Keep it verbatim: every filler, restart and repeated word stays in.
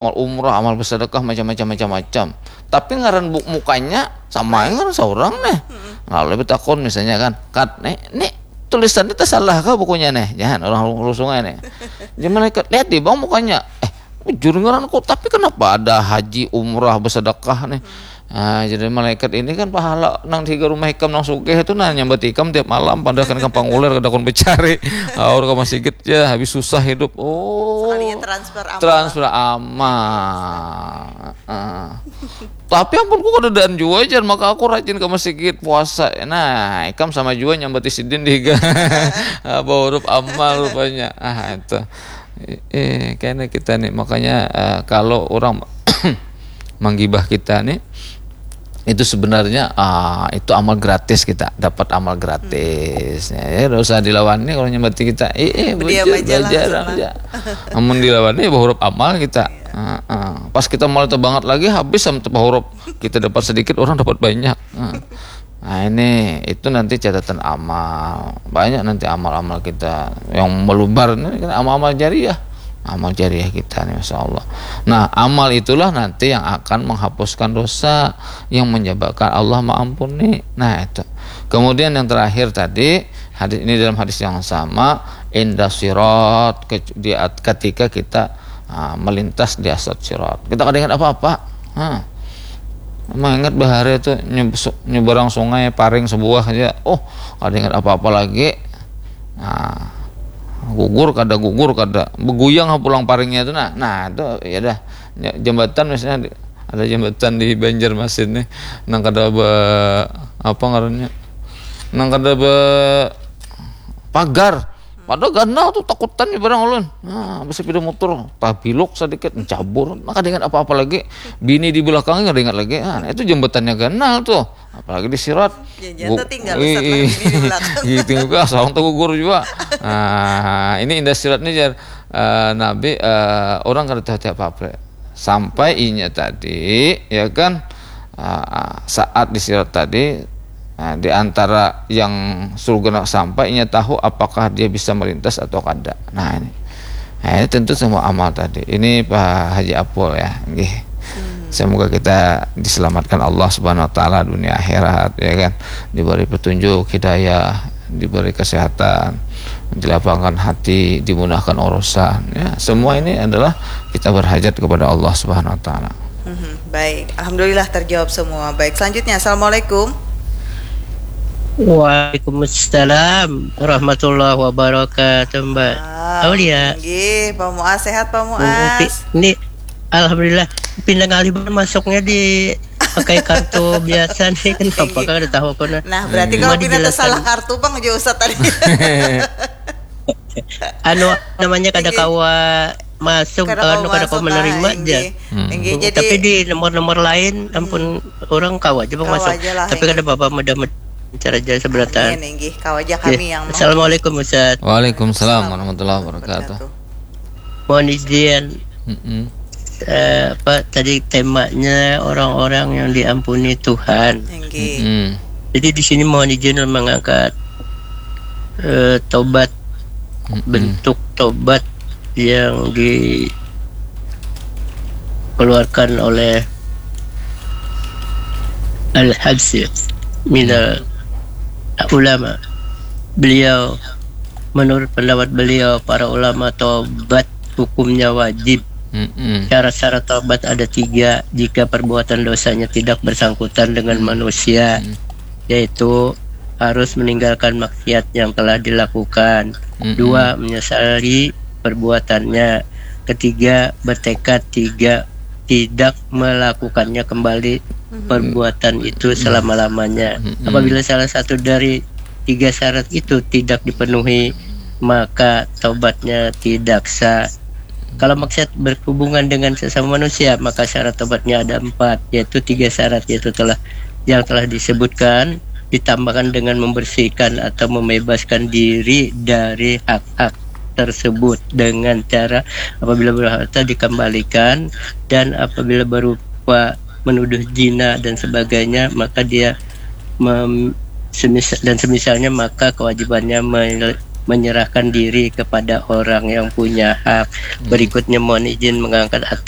amal umrah, amal bersedekah, macam-macam, macam-macam. Tapi ngaran buk mukanya sama aja ngaran seorang nih. Lalu betakon misalnya kan, "Kat, nih, nih tulisan ini tersalah kah bukunya nih?" Jangan orang rusung aja nih. Jadi malaikat, "Lihat di bang mukanya." "Eh, bujur ngaran kok, tapi kenapa ada haji, umrah, bersedekah nih?" Nah, jadi malaikat ini kan pahala nang tiga rumah ikam nang sugih itu nah nyambat ikam tiap malam padahal kan gampang ular kada kon becari. Aur ke masjid ya habis susah hidup. Oh, Sekalinya transfer amal. Transfer amal. Ah. Tapi ampun ku kadadaan jua jar maka aku rajin ke masjid puasa. Nah, ikam sama jua nyambati sidin di higa. Apa huruf amal rupanya. Ah, itu. Eh, kayaknya kita nih makanya eh, kalau orang menggibah kita nih itu sebenarnya ah, itu amal gratis kita dapat amal gratis ya, ya udah usah dilawan nih kalau nyambati kita eh, eh Berdiam belajar, aja lah, belajar senang. Aja. Namun dilawan nih huruf amal kita Ah, ah. Pas kita mulai banget lagi habis sama tempat huruf kita dapat sedikit orang dapat banyak Ah. Nah ini itu nanti catatan amal banyak nanti amal-amal kita yang melubar ini kan amal-amal jariah amal jariah kita nih masya Allah. Nah amal itulah nanti yang akan menghapuskan dosa yang menyebabkan Allah mengampuni. Nah itu. Kemudian yang terakhir tadi hadis ini dalam hadis yang sama indah sirat ke- di at- ketika kita ah, melintas di asat sirat. Kita kada ingat apa-apa. Nah, mengingat bahari itu nyeb- nyeberang sungai paring sebuah aja. Oh, kada ingat apa-apa lagi. Nah, gugur kada gugur kada beguyang ha pulang paringnya itu nah nah itu ya dah. Nya- jambatan misalnya di- ada jambatan di Banjarmasin nih nang kada be apa ngarannya nang kada be pagar padahal ganal tuh takutan nih barang ulun nah besepeda motor tabilok sedikit cabur nah kada ingat apa-apa lagi bini di belakangnya kada ingat lagi nah itu jambatannya ganal tuh apalagi di sirat Ya, nyata tinggal Ustaz lah, bini di belakang. Gitu juga asal tuh gugur juga nah ini indah sirat nih jar Eh, nabi eh, orang kada tahu tiap apa sampai inya tadi ya kan eh, saat di sirat tadi nah, di antara yang surga nak sampai inya tahu apakah dia bisa melintas atau kada nah ini nah, ini tentu semua amal tadi ini Pak Haji Apul ya nggih semoga kita diselamatkan Allah Subhanahu wa taala dunia akhirat ya kan diberi petunjuk hidayah diberi kesehatan dilapangkan hati dimudahkan urusan ya semua ini adalah kita berhajat kepada Allah Subhanahu wa taala Mhm, Baik, alhamdulillah terjawab semua. Baik, selanjutnya assalamualaikum. Waalaikumsalam warahmatullahi wabarakatuh Mbak Ah, Aulia. Nggih, Pak Muas sehat Pak Pi- Muas. Ini alhamdulillah pindah ngalih baru masuknya di pakai kartu biasa nih kenapa kan ada tahu aku nah. Nah, berarti Cuma kalau pindah dijelaskan- salah kartu Bang jauh Ustaz tadi. Anu namanya kada Nggih. Kawa masuk Kada anu kawa kada kawa masuk, menerima ah, aja. nggih. Nggih, jadi Tapi di nomor-nomor lain ampun orang kawa aja Bang Kawa masuk. aja lah, Tapi nggih. Kada apa-apa mudah mencari aja seberatan. Amin, nggih. Kawa aja kami yang mau Assalamualaikum Ustaz. Waalaikumsalam warahmatullahi wabarakatuh Mohon izin Mm-mm. eh, apa tadi temanya orang-orang yang diampuni Tuhan. Nggih. Mm-mm. Jadi di sini mohon izin mengangkat eh, tobat Mm-mm. bentuk tobat yang dikeluarkan oleh Al-Habsyi minal ulama. Beliau menurut pendapat beliau para ulama tobat hukumnya wajib. Mm-mm. Syarat-syarat tobat ada tiga jika perbuatan dosanya tidak bersangkutan dengan manusia, yaitu harus meninggalkan maksiat yang telah dilakukan. Dua, menyesali perbuatannya. Ketiga, bertekad tiga tidak melakukannya kembali perbuatan itu selama-lamanya. Apabila salah satu dari tiga syarat itu tidak dipenuhi, maka taubatnya tidak sah. Kalau maksiat berhubungan dengan sesama manusia, maka syarat taubatnya ada empat, yaitu tiga syarat, yaitu telah yang telah disebutkan, ditambahkan dengan membersihkan atau membebaskan diri dari hak-hak tersebut dengan cara apabila berharta dikembalikan dan apabila berupa menuduh zina dan sebagainya maka dia mem- semis- dan semisalnya maka kewajibannya me- menyerahkan diri kepada orang yang punya hak. Berikutnya mohon izin mengangkat at-